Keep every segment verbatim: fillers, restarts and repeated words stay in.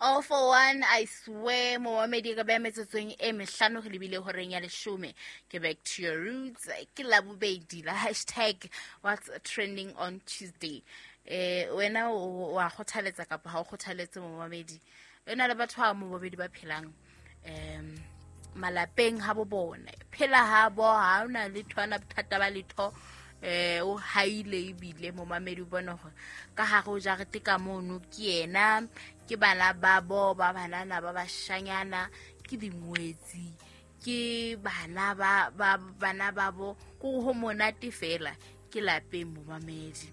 All for one, I swear, momamedi ka ba metsotsong e mehlano re lebile horeng ya leshome. Ke back to your roots. Ke Labobedi la hashtag what's trending on Tuesday. Eh, wena o wa kgothaletsa kapa ha o kgothaletse momamedi? Wena le batho ba momamedi ba phelang um malapeng ha bo bona. Phela ha bo ha ona letho ana bothata ba letho. Eh o haile ebile momamedi o bona hore ka hare o jarete ka mono ke yena, ke bana ba bo ba banana ba bashanyana, ke dingwetsi, ke bana ba ba bana ba bo ko ho monate fela ke lapeng momamedi.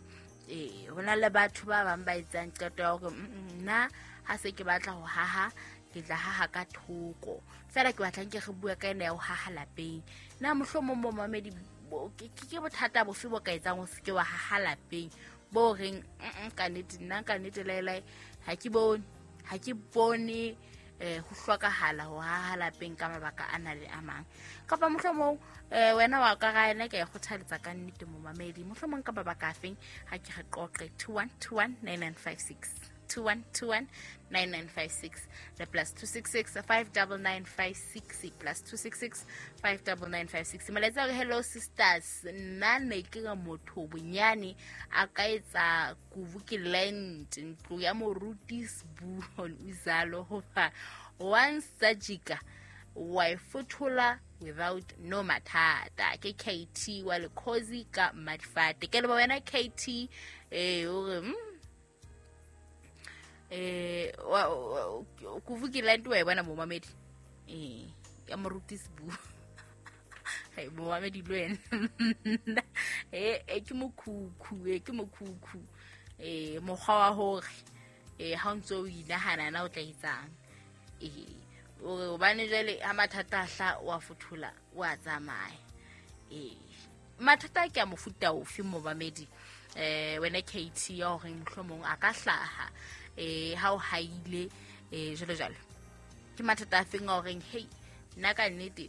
Eh hona le batho ba bang ba etsang qeto ya hore nna ha se ke batla ho haha ke tla haha ka thoko fela, ke batlang ke re bua ka ena ya ho haha lapeng. Na mohlomong momamedi ke bothata bofe bo ka etsang o se ke wa haha lapeng bo reng ka nnete nna ka nnete laelai ha ke bone ha ke bone eh ho hlokahala ho haha lapeng ka mabaka a na le a mang, kapa mohlomong eh wena wa ka ga ena ke e kgothaletsa ka nnete momamedi mohlomong ka mabaka a feng. Ha ke re qoqe two one two one nine nine five six two one two one nine nine five six le plus two six six five nine nine five six plus two six six five nine nine five six. Molaetsa hore hello sisters, nna ne ke re motho bonyane a ka etsa kuvu ke land ntlo ya moruti Sbu on uzalo hoba once sajika wa ifothola without no mathata. Ke K T wa lekhozi ka Madifate. Ke le wena K T eh o re eh kuvu ke land wa e bona momamedi eh ya moruti Sbu. Hey momamedi le wena eh eh ke mokhukhu eh ke mokhukhu eh mokgwa wa hore eh ha o ntso o inahana na o tla etsang eh o re hobane jwale ha mathata a hla wa fothola wa tsamaya. Eh mathata ke a mofuta ofe momamedi eh wena K T ya hore mohlomong a ka hlaha eh ha o haile eh jalo jalo ke mathata a feng a horeng hey nna ka nnete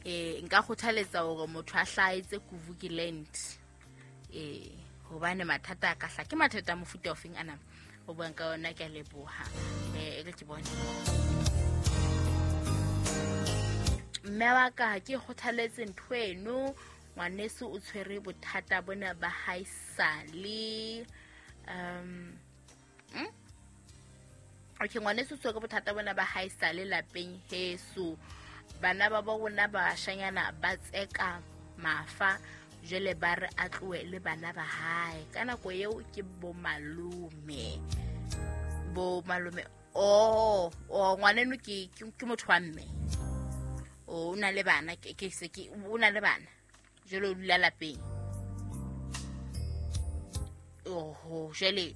eh nka kgothaletsa hore motho a hlaetse kuvu ke land eh hobane mathata a ka hla ke mathata a mofuta o feng ana o buang ka ona. Ke a leboha eh e ke bone mme wa ka ha ke kgothaletse ntho eno ngwaneso o tshwere bothata bona ba haesale um mm? Okay ngwaneso o tshwere bothata bona ba haesale lapeng heso bana ba ba rona ba bashanyana ba tseka mafa jwale ba re a tlohe le bana ba hae ka nako eo ke bo malome bo malome oh oh ngwaneno ke ke motho wa mme o na le bana ke ke se ke o na le bana jwale o dula lapeng oho jwale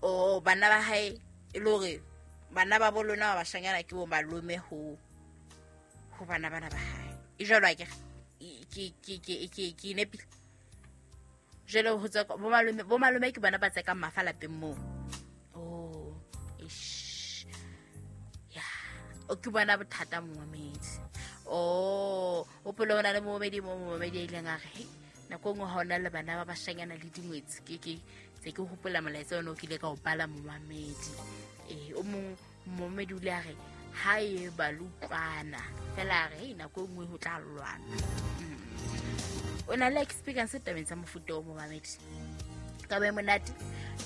o bana ba hae e le hore bana ba bo lona ba bashanyana ke bo malome ho ho bana bana ba hae e jwalo akere ke ke ke ke ke nepile jwale ho tswa bo malome bo malome ke bana ba tsekang mafa lapeng moo oh ish ya o ke bona bothata momamedi oh o pele ona le momamedi mo momamedi a ileng a re hey nako nngwe ha ona le bana ba bashanyana le dingwetsi ke ke tse ke hopola molaetsa ona o kile ka o bala momamedi eh o mong momamedi o ile a re ha e ba lutlwana fela re nako nngwe ho tla lwana. O na le experience tabeng tsa mofuta o momamedi ka ba monate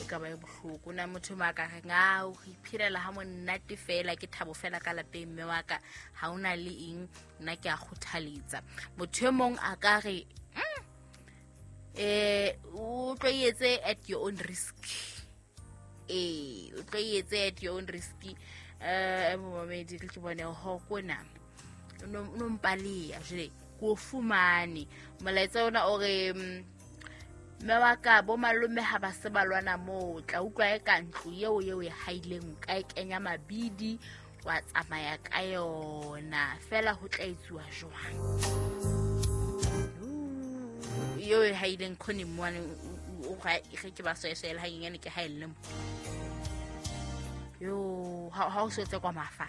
e ka ba bohloko na motho ma ka reng a o iphelela ha monate fela ke thabo fela ka lapeng mme wa ka ha ona le eng nna ke a kgothaletsa motho e mong a ka re eh o tlo etse at your own risk eh o tlo etse at your own risk eh momamedi ke bone ho kona no no mpalea jle ko fumane molaetsa ona o re mme wa ka bo malome ha ba se ba lwana moo tla utlwa e ka ntlo eo eo e haileng ka e kenya mabidi wa tsamaya ka yona fela ho tla etsuwa jwang eo e haileng khone mone o ga ke ba soesela ha nyane ke haelle mo yo ha ha o setse kwa mafa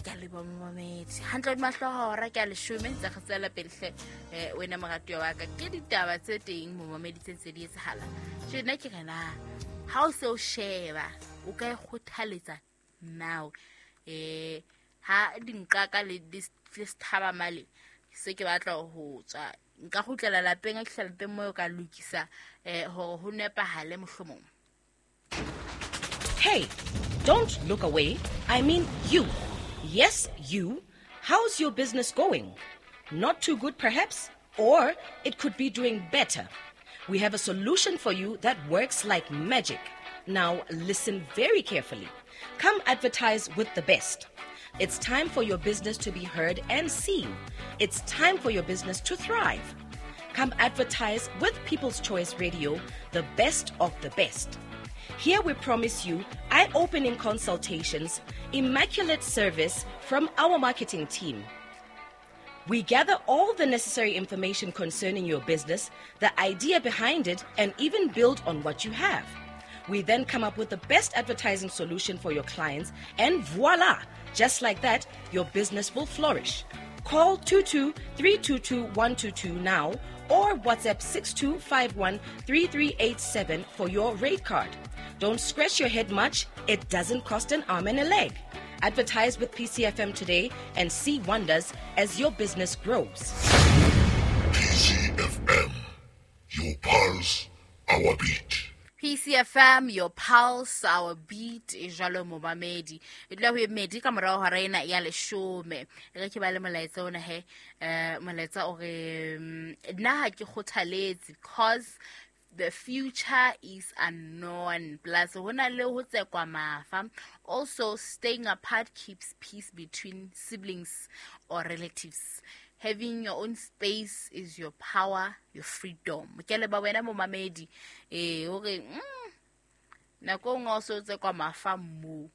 Ke a leboha momamedi. Hantle hodima hlooho hora ke a leshome ntse re tswela pele hle eh wena moratuwa wa ka. Ke ditaba tse teng momamedi tse ntse di etsahala. Tjhe nna ke re na ha o se o sheba o ka e kgothaletsa now eh ha dinqaka le le sethaba male se ke batla ho tswa nka kgutlela lapeng a ke lapeng mo ka lokisa eh hore ho nepahale mohlomong. Hey, don't look away. I mean you. Yes, you. How's your business going? Not too good, perhaps? Or it could be doing better. We have a solution for you that works like magic. Now, listen very carefully. Come advertise with the best. It's time for your business to be heard and seen. It's time for your business to thrive. Come advertise with People's Choice Radio, the best of the best. Here we promise you eye-opening consultations, immaculate service from our marketing team. We gather all the necessary information concerning your business, the idea behind it, and even build on what you have. We then come up with the best advertising solution for your clients, and voila! Just like that, your business will flourish. Call two two three two two one two two now or WhatsApp six two five one three three eight seven for your rate card. Don't scratch your head much. It doesn't cost an arm and a leg. Advertise with P C F M today and see wonders as your business grows. P C F M, your pulse, our beat. P C F M, your pulse, our beat, e jwalo momamedi. E dula ho e medi ka morao hora ena ya leshome. E re ke ba le molaetsa ona he, eh molaetsa o re nna ha ke kgothaletse because the future is unknown. Plus, hona le ho tsekwa mafa. Also, staying apart keeps peace between siblings or relatives. Having your own space is your power, your freedom. Ke le ba wena momamedi eh hore mm nako nngwe o so tsekwa mafa mo.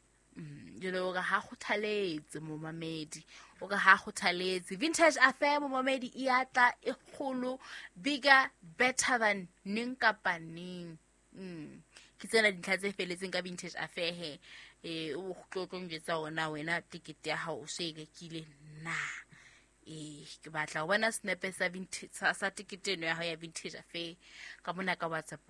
You know, ha kgothaletse momamedi. O re ha kgothaletse. Vintage Affair momamedi e atla e kgolo, bigger, better than neng kapa neng. Mm. Ke tsena dintlha tse feletseng ka Vintage Affair he. Eh o tlo tlo njwetsa ona wena tikete ya hao o se e rekile na. Eh ke batla ho bona snepe sa vintage sa tikete eno ya hao ya Vintage Affair ka mona ka WhatsApp.